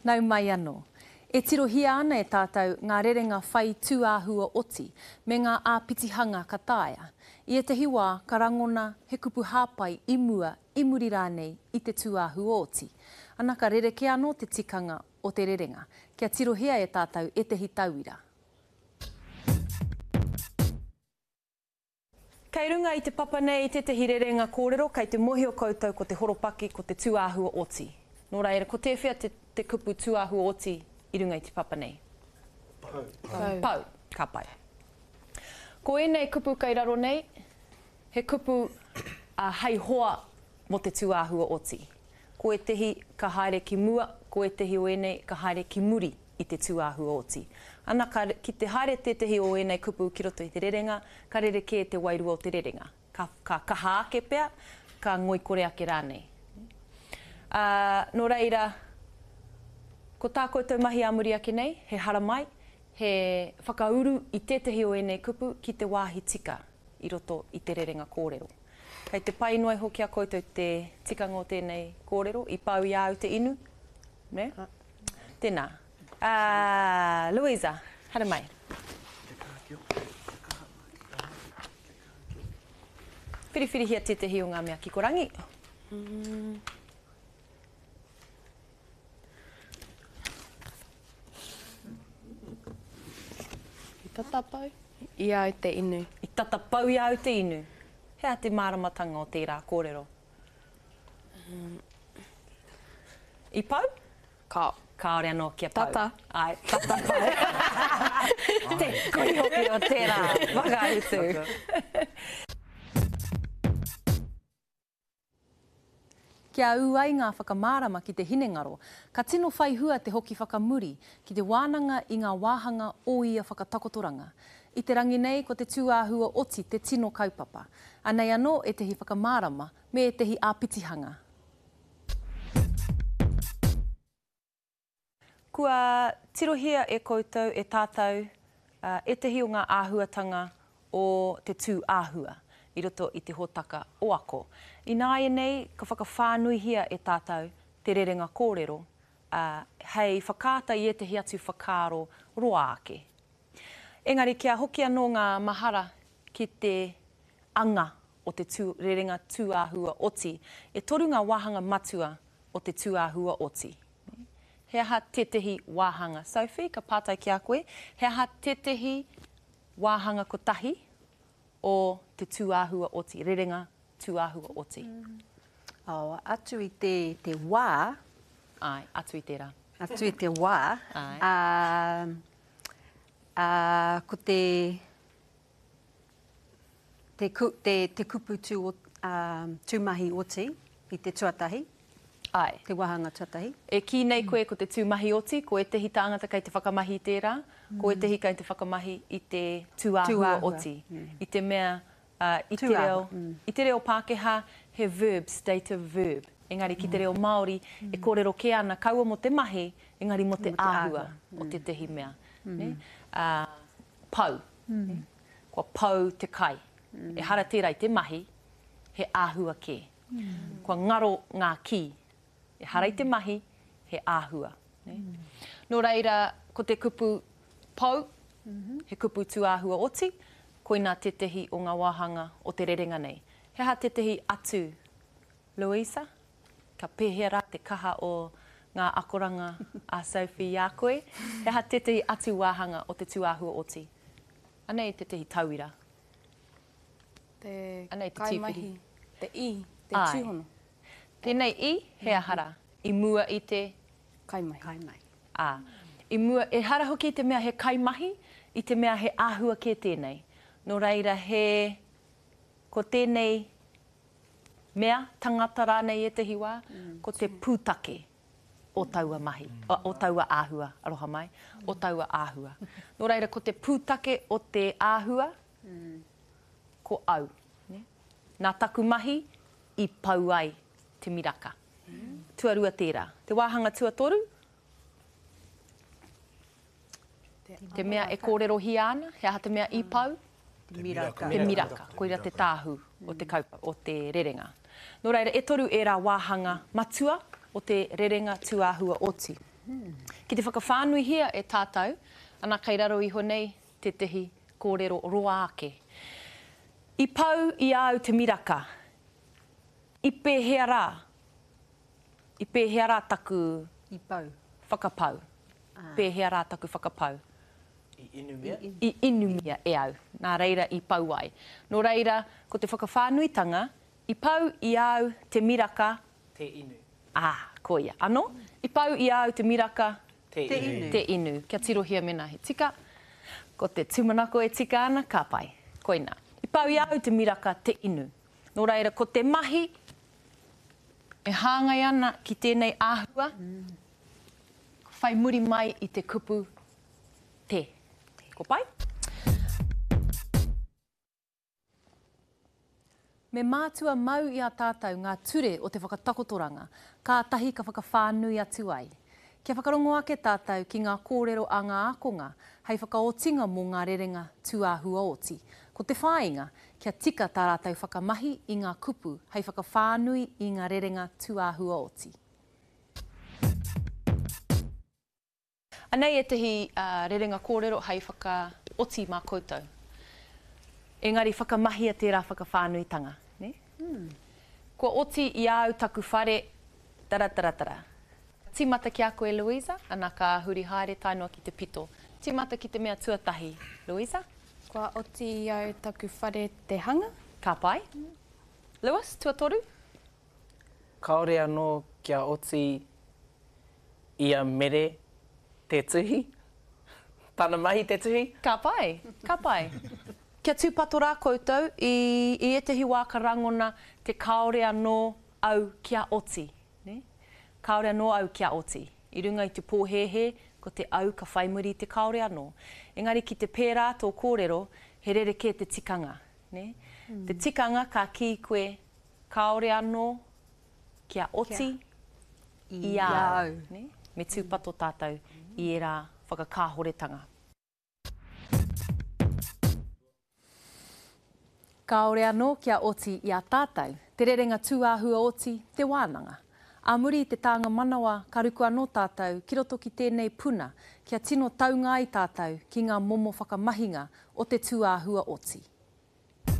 Nau mai anō. E tirohia ana e tātou ngā rerenga whai tūāhua oti me ngā āpitihanga ka taea. I ētahi wā ka rangona he kupu hāpai i mua, i muri rānei i te tūāhua oti. Ana ka rerekē anō te tikanga o te rerenga. Kia tirohia e tātou ētahi tauira. Kei runga i te papa nei tētahi rerenga kōrero kei te mōhio koutou ko te horopaki ko te tūāhua oti. Nō reira, ko tēwhea te, te kupu tūāhua oti i runga i te papa nei? Pau. Pau. Pau. Ka pai. Ko ēnei kupu kei raro nei, he kupu uh, hei hoa mō te tūāhua oti. Ko ētehi ka haere ki mua, ko ētehi o ēnei ka haere ki muri. i te tūāhua oti. Ana, ka, ki te haere tētehi o ēnei kupu ki roto i te rerenga, ka rerekē te wairua o te rerenga. Ka, ka kaha ake pea, ka ngoikore ake rānei. Ā, nō reira, ko tā koutou mahi ā muri ake nei, he haramai, he whakauru i tētehi o ēnei kupu ki te wāhi tika i roto i te rerenga kōrero. Kei te pai noa iho ki a koutou te tikanga o tēnei kōrero, i pau i a au te inu, nē? Tēnā. Ā, Louisa, haere mai. Whiriwhirihia tētehi o ngā mea kikorangi. I tata pau i a au te inu. I tata pau i a au te inu. He aha te māramatanga o tērā kōrero? I pau? Kao. Kāore anō kia pau. Tata. Āe, tata pau. Te koi hoki o tērā whakautu. Kia ū ai ngā whakamārama ki te hinengaro, ka tino whai hua te hoki whakamuri ki te wānanga i ngā wāhanga o ia whakatakotoranga. I te rangi nei ko te tūāhua oti te tino kaupapa. Anei anō ētehi whakamārama me ētehi āpitihanga. Kua tirohia e koutou, e tātou, ētehi o ngā āhuatanga o te tū āhua i roto i te hōtaka o Ako. Ināianei ka whakawhānuihia e tātou te rerenga kōrero, ā, hei whakaata i ētehi atu whakaaro roa ake. Engari kia hoki anō ngā mahara ki te anga o te tū, rerenga tūāhua oti. E toru ngā wāhanga matua o te tūāhua oti. He aha tētehi wāhanga? Sophie, ka pātai ki a koe, he aha tētehi wāhanga kotahi o te tūāhua oti, rerenga tūāhua oti? Oh, atu i te, te wā. Āe, atu i tērā. Atu i te wā. Āe. Ā, ā, ko te, te, te, te kupu tū, ā, tūmahi oti i te tuatahi. Āe. Te wāhanga tuatahi. E kī nei koe ko te tūmahi oti, ko ētehi tāngata kei te whakamahi i tērā, ko ētehi kei te whakamahi i te tūāhua oti. I te mea, i te reo, i te reo Pākehā he verb, stative verb. Engari ki te reo Māori e kōrero kē ana kaua mō te mahi, engari mō te āhua o tētehi mea. Nē? Ā, pau. Kua pau te kai. Ehara tērā i te mahi, he āhua kē. Kua ngaro ngā kī. Ehara i te mahi, he āhua. Nō reira, ko te kupu pou, he kupu tūāhua oti, koinā tētehi o ngā wāhanga o te rerenga nei. He aha tētehi atu, Louisa? Ka pēhea rā te kaha o ngā akoranga a Sophie i a koe? He aha tētehi atu wāhanga o te tūāhua oti? Anei tētehi tauira. Te Anei te kaimahi, te i, te Āe. tūhono. Tēnei i, he aha rā? I mua i te. Kaimahi. Kaimahi. Ā. I mua, ehara hoki i te mea he kaimahi, i te mea he āhua kē tēnei. Nō reira, he, ko tēnei mea, tangata rānei ētehi wā, ko te pūtake o taua mahi, o taua āhua, aroha mai, o taua āhua. Nō reira, ko te pūtake o te āhua, ko au. Nā taku mahi i pau ai te miraka. Tuarua tērā. Te wāhanga tuatoru, te mea e kōrerohia ana, he aha te mea i pau? Te miraka. Te miraka. Koira te tāhū o te kaupapa, o te rerenga. Nō reira, e toru ērā wāhanga matua o te rerenga tūāhua oti. Ki te whakawhānuihia e tātou, ana kei raro iho nei tētehi kōrero roa ake. I pau i a au te miraka, i pēhea rā, i pēhea rā taku I pau. whakapau? Pēhea rā taku whakapau? I inumia? I inumia e au, nā reira i pau ai. Nō reira, ko te whakawhānuitanga, i pau i a au te miraka. Te inu. Ā, koia. Anō? I pau i a au te miraka. Te inu. Te inu. Kia tirohia mēnā he tika. Ko te tūmanako e tika ana, ka pai. Koinā. I pau i a au te miraka te inu. Nō reira, ko te mahi e hāngai ana ki tēnei āhua, whai muri mai i te kupu te. Ko pai? Me mātua mau i a tātou ngā ture o te whakatakotoranga, kātahi ka whakawhānui atu ai. Kia whakarongo ake tātou ki ngā kōrero a ngā ākonga hei whakaotinga mō ngā rerenga tūāhuaoti. Ko te whāinga, kia tika tā rātou whakamahi i ngā kupu hei whakawhānui i ngā rerenga tūāhuaoti. Anei ētahi rerenga kōrero hei whakaoti mā koutou. Engari whakamahia tērā whakawhānuitanga, nē? Kua oti i a au taku whare, tara-tara-tara. Tīmata ki a koe, Louisa, ana ka huri haere tae noa ki te pito. Tīmata ki te mea tuatahi, Louisa. Kua oti i au taku whare te hanga. Ka pai. Lewis, tuatoru. Kāore anō kia oti i a Mere te tuhi, tana mahi te tuhi. Ka pai, ka pai. Kia tūpato rā koutou, i, i ētahi wā ka rangona te kāore anō au kia oti, nē? Kāore anō au kia oti. I runga i te pōhēhē, ko te au ka whai muri i te kāore anō. Engari ki te pērā tō kōrero, he rerekē te tikanga, nē? Te tikanga ka kī koe, Kāore anō kia oti i a au. Me tūpato tātou i ērā whakakāhoretanga. Kāore anō kia oti i a tātou te rerenga tūāhua oti te wānanga. Ā muri i te tānga manawa ka ruku anō tātou ki roto ki tēnei puna kia tino taunga ai tātou ki ngā momo whakamahinga o te tūāhua oti.